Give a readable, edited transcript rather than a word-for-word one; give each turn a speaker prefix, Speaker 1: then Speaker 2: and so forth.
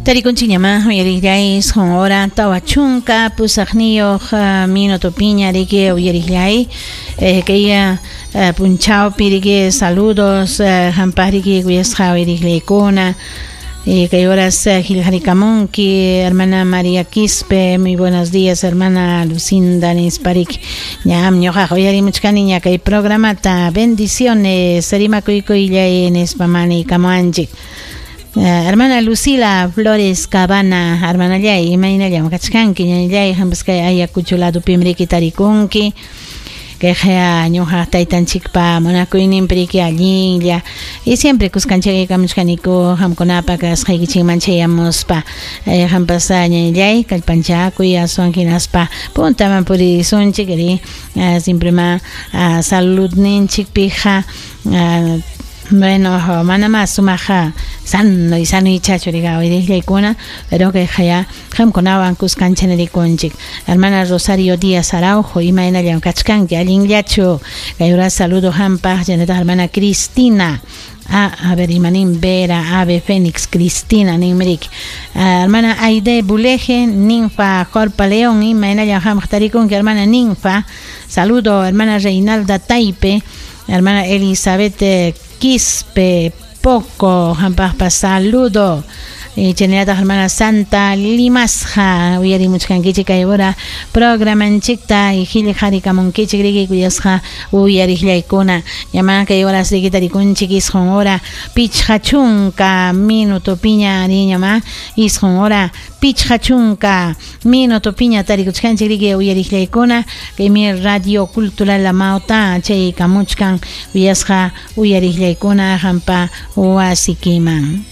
Speaker 1: Tarikunchikñamá uyariqllay isqun hora 48 minutopiña riki uyariqllay kay punchawpi riki saludos hampaq riki kuyasqa uyariqllaykuna. Kay horas qillqarikamunki hermana María Quispe, muy buenos días hermana Lucinda nispa riki. Ñam ñuqaqa uyarimuchkaniña kay programata, bendiciones rimakuykullay nispa maniykamuwanchik. Hermana Lucila Flores Cabana, hermanallay, imaynallam kachkanki ñañallay, hampas kay Ayacucho ladupim riki tarikunki. Kayqa ñuqa taytanchikpa munakuyninpi riki allinlla y siempre kuskanchaykamuchkaniku qamkunapa kasqaykichikman chayamuspa. Qampas ñañallay kallpanchakuy aswan hinaspa puntaman puririsunchik ri siempre ma saludninchikpiqa bueno, mana más sumaqa sano y sano ichachu riqa uyriqllaykuna, pero kayqa ya qamkunawan kuskancha nirikunchik. Hermana Rosario Díaz Araujo, imaynallam kachkanki, allinllachu? Kay hora saludo hampaq, chaynataq hermana Cristina. Ah, a ver, imanin Vera, Ave Fénix, Cristina, ninmirik. Hermana Aide Buleje, Ninfa Jorpa León, imaynallam hampaq tarikunki, hermana Ninfa. Saludo, hermana Reinalda Taipe, hermana Elizabeth Quispe Poco, hampaqpa saludo. Chaynallataq hermana Santa Limasja, uyarimuchkankichik kay hora programanchikta y qillqarikamunkichik riki kuyasqa uyariqllaykuna. Ñama kay horas riki tarikunchik isqun hora 50 minutopiña riñama isqun hora 50 minutopiña tarikuchkanchik riki uyariqllaykuna. Kaymi Radio Cultural Amauta chaykamuchkan kuyasqa uyariqllaykuna hampa wasikiman.